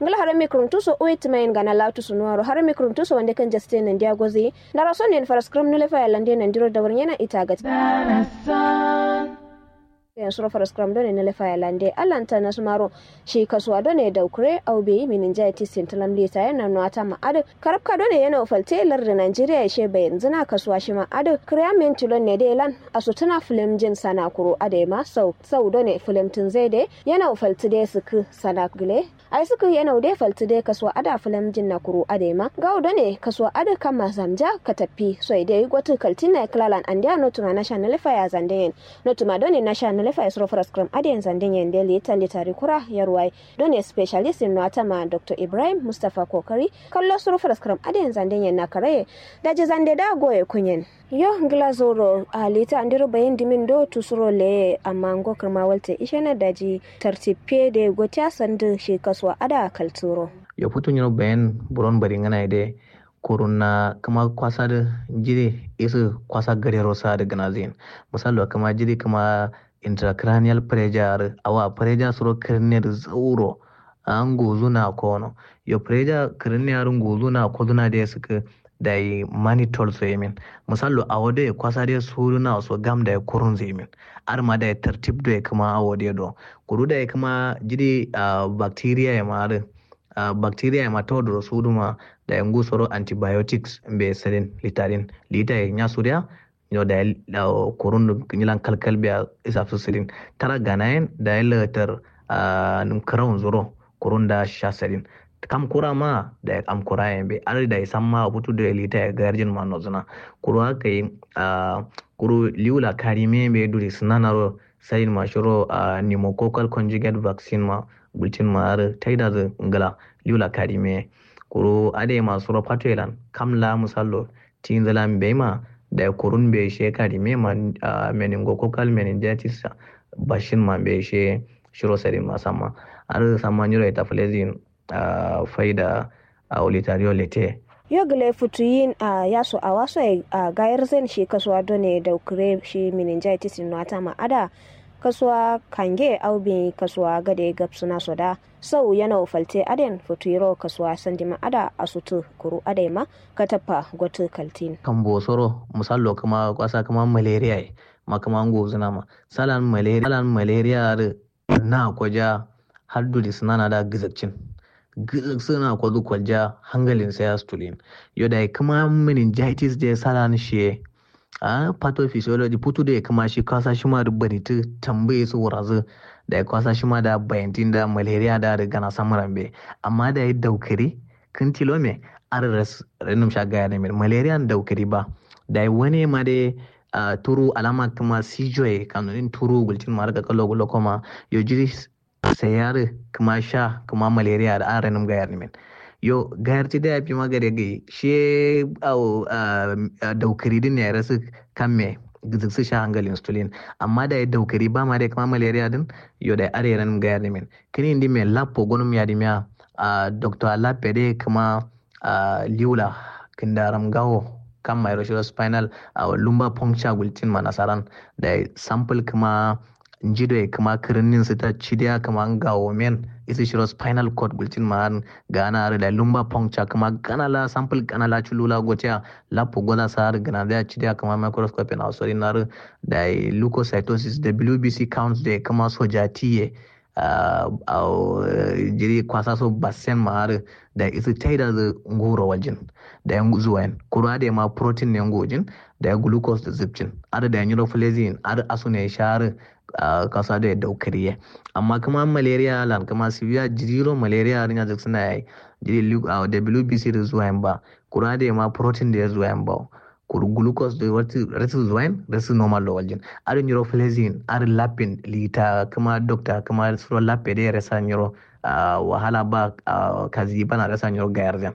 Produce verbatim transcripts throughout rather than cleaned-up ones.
Kla harami kuruntu so uwe timayin gana latu sunuwaro harami kuruntu so wande kan jaste nandiya gozi. Ndara son yen faraskram nule faya lande nandiro dawar yana ita gati. Yan suro faraskram done nule faya lande alanta nasumaro. Shi kasuwa done daukure au beyi meningitis sintilam lita yana nuwata ma adu karabka done yana ufalte larda nigeria ishe bayin zina kasuwa shima adu kriya mentilon ne de lan. Asutuna filim jin sana kuru ade ma sau sau done filim tun zai de yana ufalti de suku sana gile. Ai suku yana ude falti de kasuwa ada filim jin na kuru ade ma gau done kasuwa ada kama zamja kataffi soi de gwatu kaltin na klalan andiya notuma nasha nule faya zande yen. Notuma done nasha nule faya suro faraskram ade yen zande yen de lita litari kura yarwai. Done specialist in nuwata ma dr ibrahim mustapha kokari kallo suro faraskram ade yen zande yen na karaye. Daji zande da goye kunyen. Yo ngla zoro a lita andiro bayin dimin do tusuro leye amma ngo kirma walte ishena daji tartib pe de gotiya sandu shi kasuwa ada kalturo. Yo futu nyiro bayin buron bari ngana de kurunna kuma kwasa de jiri isu kwasa gadero sa de gana zin. Misalo kuma jiri kuma intracranial pressure awa pressure suro kirne de zauro. An guzu na kono yo pressure kirne aru guzu na koduna de suku. Dayi mani tol so yemin. Misallo awo de kwasa de suru na so gam dayi kurun so yemin. Ar ma dayi tartib do kuma awo de do kuru dayi kuma jidi bacteria ya ma ar bacteria ya ma todoro suduma. Dayi ngu soro antibiotics be sirin litarin lita ya nya suriya. Yo dayi kurun nyilan kalkal biya isa su sirin tara ganayen dayi latar. Num karaun zuro kurun da sha sirin. Kam kura ma dayi am kura yen be ar dayi samma futu do lita ya garjin ma nozuna. Kuru aka yi kuru liwla karime be duri sinanaro sayin ma shiro pneumococcal conjugate vaccine ma gulcin ma ar taida zu ngla liwla karime. Kuru ade ma suro fatoilan kam la misallo tinzilan be ma dayi kurun be she karime ma meningococcal meningitis bashin ma be she shiro sayin ma samma. Ar samma nyiro ita flezin faida a olitario lete. Yo gile futuyin a yaso a waso a gayar zen shi kasuwa done daukure shi meningitis nuwata ma ada kasuwa kange au bin kasuwa gade gabsuna soda. Sau yana ufalte aden futuyiro kasuwa sandima ada asutu kuru adai ma kataffa gotu kaltin. Kambo soro misallo kuma kwasa kuma malaria ye ma kuma ngozuna ma salan malaria salan malaria adu na kwaja har duri sinana da gizakcin. Gizak suna kwazu kwalja hangalin sai ya stulin. Yo da kuma meningitis je salan shiye. A pathophysiology futu da kuma shi kasa shima da baritu tambaye su wurazu. Da kasa shima da bayantin da malaria da da gana samuran be. Amma da ya daukari kin tilo me ar ras renum sha gaya ne min malaria daukari ba. Da wani ma da turu alama kuma sijoye kanunin turu gulcin ma daga kalo gulo koma yo jiri. Sai yari kuma sha kuma malaria da an renum gayar nimin. Yo gayar ti da ya fi magare gai shi awo daukari din ya rasu kan me giziksi sha hangal insulin. Amma da ya daukari ba ma da kuma malaria din yo da are renum gayar nimin. Kini indi me lappo gonum ya dimiya a doctor lappe de kuma liwla kindaram gawo kam mairo shiro spinal a lumba puncture gultin ma nasaran. Da sample kuma njidoye kuma kirinin sita cidiya kuma ngawo men isi shiro spinal cord gultin ma an gana are da lumba puncture kuma gana la sample gana la culula gotiya. Lappo goza sa har gana da cidiya kuma microscope na sori na da leukocytosis wbc counts da kuma sojatiye. Awo jiri kwasa so basen ma har da isi taida zu nguro waljin. Da yan zuwain kuru ade ma protein ne ngujin. Da ya glucose da zubcin har da nyiro flezin har asu ne shahar. Kasa da ya daukariye amma kuma malaria lan kuma severe jiriro malaria har nya zuk suna yayi. Jiri wbc da zuwain ba kuru ade ma protein da ya zuwain ba. Kuru glucose da rasu zuwain rasu normal lo waljin. Ar nyiro flezin ar lapin lita kuma doctor kuma suro lape da rasa nyiro wahala ba. Kazi bana rasa nyiro gayar zan.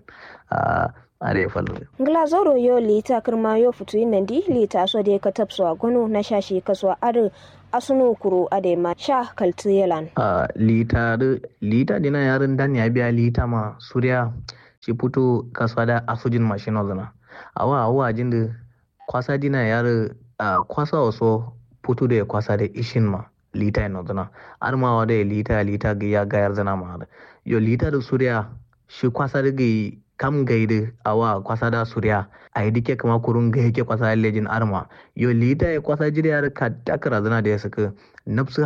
Are fal ngla zoro yo lita kirma yo futu yin nandi lita so da ka tapso a gono na shashi kasuwa ar asunu kuru ade ma sha kaltu yelan. Lita da lita dina yarin dan ya biya lita ma suriya. Shi futu kasuwa da asujin mashino zana. Awa awa jin da kwasa dina yar kwasa waso futu da ya kwasa da ishin ma. lita ye nozǝna. Adǝma awo dai lita lita gǝya gayar zǝna ma adǝ. Yo lita dǝ suriya shi kwasa dǝ gǝyi kam gai dǝ awa kwasa da suriya. Ayi dǝkke kǝma kurun gai ke kwasa da lejin adǝma. Yo lita ye kwasa jiri adǝ kadda kǝra zǝna da ya sǝkǝ. Nabsǝ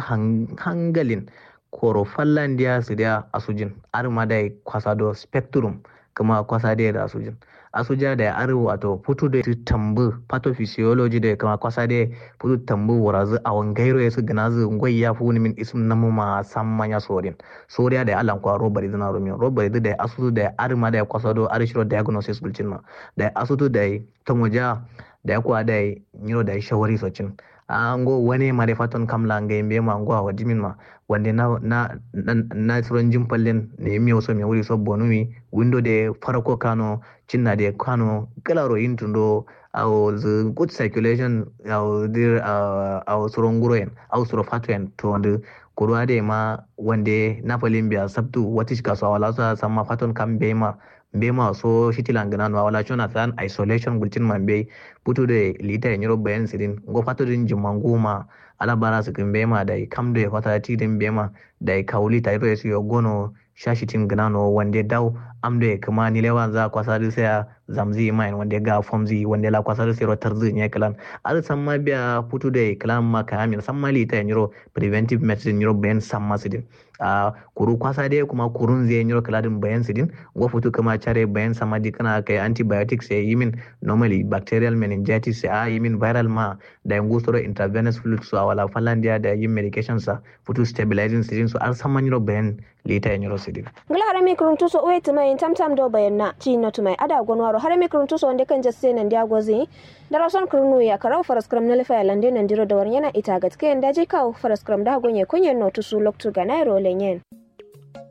hangalin koro fallandiya sǝdiya asujin adǝma dai kwasa do spectrum. Kǝma kwasa dai da asujin asuja dai adǝ wato futu dai tambǝ pathophysiology dai kǝma kwasa dai futu tambǝ wurazǝ awo ngairo ye sǝ gǝnazǝ ngoi ya fuwuni min isǝm namuma samma nya sorin. Soriya dai alan kwa robari zǝna rumin robari dǝ dai asutu dai adǝma dai kwasa do adǝ shiro diagnosis gulcin ma. Dai asutu dai tomoja dai kwa dai nyiro dai shawari socin. A ngo wane ma dai faton kam la ngai mbe ma ngo awo dimin ma wande na na na na suron jin fallen ne miyo so me wuri so bonumi. Window de farko kano cinna de kano galaro intundo. Awo the good circulation awo dir awo suron guroyen awo suro fatoyen to ndu. Kuruwa de ma wande na falin biya sabtu watish kaso awala so samma faton kam be ma mbe ma so shitilan gǝna no awala shona san isolation gultin ma mbe. Futu de lita nyiro bayan sidin ngo fato din jimma nguma. Ala bara sǝkǝ mbe ma dai kam do ye kwasa tidin mbe ma dai kawuli tayiro ye sǝ yo gono. Sha shitin gǝna no wande daw am do ye kǝma nilewan za kwasa dǝ sai ya zamzǝ yi mayin wande ga fomzǝ yi wande la kwasa dǝ sai ro tarzǝ nye kǝlan. Adǝ samma biya futu do ye kǝlan ma kayamin samma lita nyiro preventive medicine nyiro bayan samma sidin. A kuru kwasa dai kuma kurun zai nyiro kǝladin bayan sidin. Ngo futu kǝma care bayan samma dikǝna kai antibiotics ye yimin normally bacterial meningitis a yimin viral ma. Dai ngu soro intravenous fluid so awala fallandiya dai yin medication sa futu stabilizing sidin so adǝ samma nyiro bayan lita ye nyiro sidin. Ngla harami kuruntu so uwe tǝmai tam tam do bayan na ci no tǝmai ada gonwaro harami kuruntu so wande kan jasse nan dia gozi. Darason kurnu ya karau faraskram na lifaya lande nan diro da warnyana ita gatke yanda je kawo faraskram da gonye kunyen no tusu loktu ga nairo lenyen.